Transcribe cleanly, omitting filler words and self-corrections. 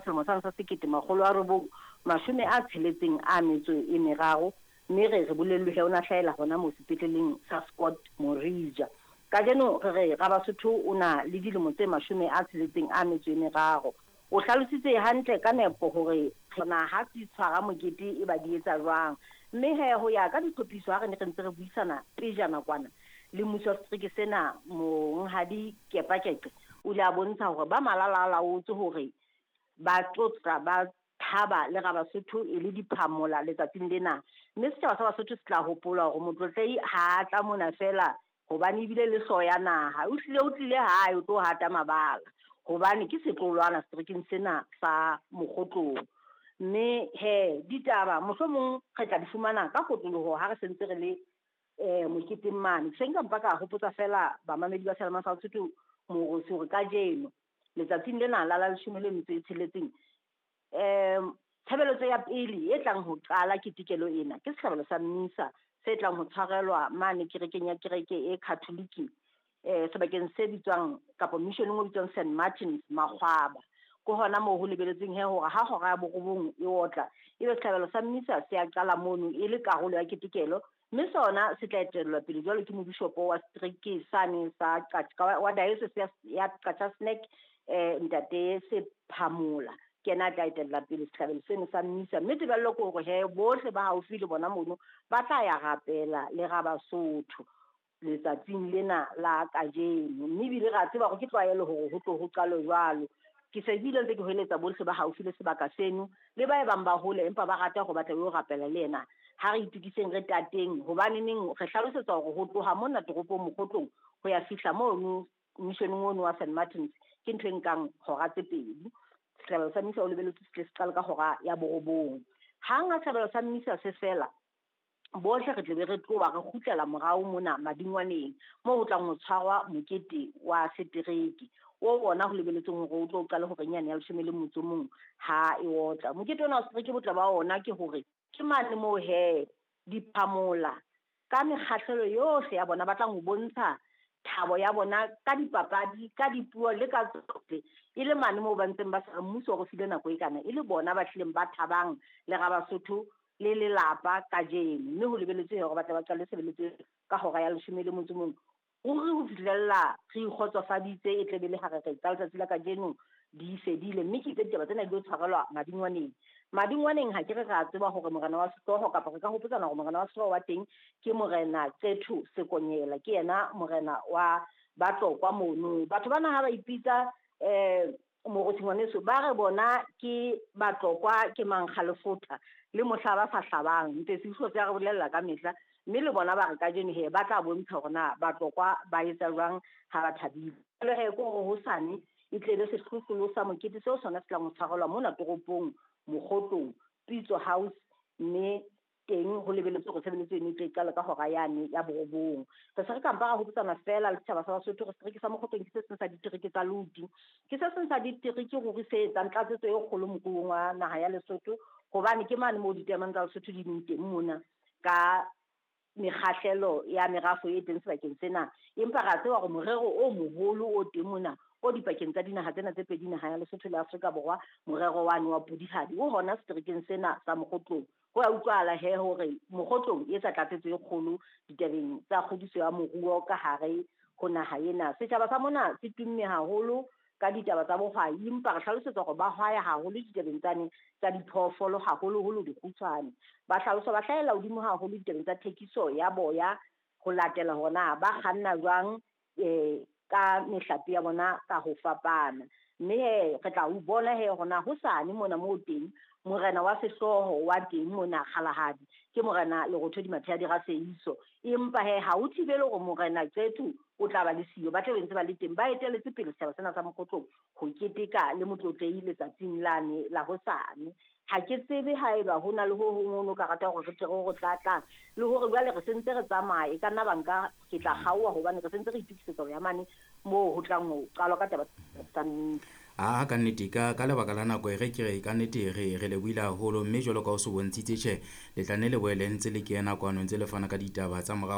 Selemo sane sa 1963, mme re re bolellwe he o na hlahela hona moo sepetleleng sa Scott Morija. Kajeno re re Rabasotho o na le dilemo tse 63. O hlalositse hantle ka nepo hore na ha di tshwara mokete e ba di etsa jwang. Mme he ho ya ka ditlhophiso ha re ne re ntse re buisana pejana kwana le mmuso wa setereke sena, Monghadi Kepakeqe o ile a bontsha hore ba malalaalaotse hore ba tlotla ba thaba le Rabasotho e le diphamola letsatsing lena. Mme setjhaba sa Basotho se tla hopola hore Motlotlehi ha a tla mona feela hobane ebile le hlooho ya naha. O hlile o tlile hae o tlo hata mabala hobane ke setlolwana seterekeng sena sa Mokgotlong. Mme he ditaba mohlomong re tla di fumana ka kotloloho ha re sentse re le moketeng mane. Se nka mpa ka hopotsa feela bamamedi ba Seyalemoya sa Basotho Morosi hore kajeno letsatsing lena la 16, tshebeletso ya pele e tlang ho qala ketekelo ena ke sehlabelo sa mmisa se tlang ho tshwarelwa mane kerekeng ya kereke e Catholic, sebakeng se bitswang kapa missioneng o bitswang St Martins Makgwaba. Ke hona moo ho lebeletsweng he hore ha hora ya 9 e otla, ebe sehlabelo sa mmisa se a qala mono e le karolo ya ketekelo, mme sona se tla etellwa pele jwalo ke mobishopo wa setereke sane sa wa diocese ya Qacha's Nek, Ntate Sephamola. Ke yena a tla etella pele sehlabelo seno sa mmisa, mme tebello ke hore he bohle ba haufi le bona mono ba tla ya rapela le Rabasotho letsatsing lena la kajeno. Mme ebile re a tseba hore ke tlwaelo hore ho tlo ho qalwe jwalo. Ke se bile ntse ke hoeletsa bohle ba haufi le sebaka seno le ba e bang ba hole empa ba rata hore ba tle ba yo rapela le yena. Ha re itokiseng re tateng, hobaneneng re hlalosetsa hore ho tloha mona toropong Mokgotlong ho ya fihla mono missioneng ono wa St Martins ke ntho e nkang hora tse 2. Sehlabelo sa mmisa o lebeletswe se tle se qale ka hora ya 9. Hang ha sehlabelo sa mmisa se fela, bohle re tle be re tloha re kgutlela morao mona madingwaneng moo ho tlang ho tshwarwa mokete wa setereke o ona ho lebeletsweng hore o tlo qale hore nyane ya 11 ha e otla. Mokete ona wa setereke botle ba ona ke hore ke mane moo he diphamola ka mekgahlelo yohle ya bona ba tlang ho bontsha thabo ya bona ka dipapadi, ka dipuo le ka tsohle, e le mane moo ba ntseng ba sa mmuso o re file nako e kana, e le bona ba hlileng ba thabang le Rabasotho le lelapa kajeno. Mme ho lebeletswe hore ba tle ba qale tshebeletso ka hora ya 11. Ruri ho fihlella re ikgotsofaditse e tle be le ha re re tsa letsatsi la kajeno di fedile, mme ke itse ditaba tsena di tlo tshwarelwa madingwaneng. Madingwaneng ha ke re ra tseba hore morena wa sehlooho kapa re ka hopotsana hore morena wa sehlooho wa teng ke Morena Qetho Sekonyela, ke yena morena wa Batlokwa mono. Batho bana ha ba ipitsa Morosi ngwaneso, ba re bona ke Batlokwa ke mankgalefotha le mohla ba sa hlabang. Ntse se se ya re bolella ka mehla, mme le bona ba re kajeno he ba tla bontsha hore na Batlokwa ba etsa jwang ha ba thabile. Jwale he ke hore hosane e tle be sehlohlolo sa mokete seo sona se tlang ho tshwarelwa mona toropong Mokgotlong Pitso House, mme teng ho lebeletswe hore tshebeletso eno e tle e qale ka hora yane ya 9. Re se re ka mpa ra hopotsana feela le setjhaba sa Basotho hore setereke sa Mokgotlong ke se seng sa ditereke tsa loti, ke se seng sa ditereke ruri se etsang tlatsetso e kgolo moruong wa naha ya Lesotho, hobane ke mane moo ditaemane tsa Lesotho di leng teng mona ka mekgahlelo ya merafo e teng sebakeng sena. Empa re a tseba hore morero o moholo o teng mona o dipakeng tsa dinaha tsena tse pedi, naha ya Lesotho le Afrika Borwa, morero wane wa Pudihadi o hona seterekeng sena sa Mokgotlong. Ho a utlwahala he hore Mokgotlong e etsa tlatsetso e kgolo ditabeng tsa kgodiso ya moruo ka hare ho naha ena. Setjhaba sa mona se tumme haholo ka ditaba tsa bohwai, empa re hlalosetsa hore ba hwaya haholo ditabeng tsane tsa diphoofolo, haholoholo dikgutshwane. Ba hlalosa ba hlahella hodimo haholo ditabeng tsa thekiso ya boya ho latela hore na ba kganna jwang ka mehlape ya bona ka ho fapana. Mme he re tla o bona he hore na hosane mona moo teng morena wa sehlooho wa teng mona Kgalagadi ke Morena Lerothodi Mathea Raseiso, empa he ha o thibele hore Morena Qetho o tla ba le siyo, ba tla be ntse ba le teng, ba eteletse pele setjhaba sena sa Mokgotlong ho keteka le Motlotlehi letsatsing lane la hosane. Ha ke tsebe haeba ho na le ho hong ho no ka rata hore re tle re ho tlatlang, le hore jwale re sentse re tsamaye, e ka nna banka ke tla kgaoha hobane re sentse re itokisetsa ho ya mane moo ho tlang ho qalwa ka taba tsa mmisa. A ka nnete ka lebaka la nako e re ke re ka nnete re lebohile haholo, mme jwalo ka o se bontshitse tjhe le tla nne le boele ntse le kena kwano ntse le fana ka ditaba tsa morao.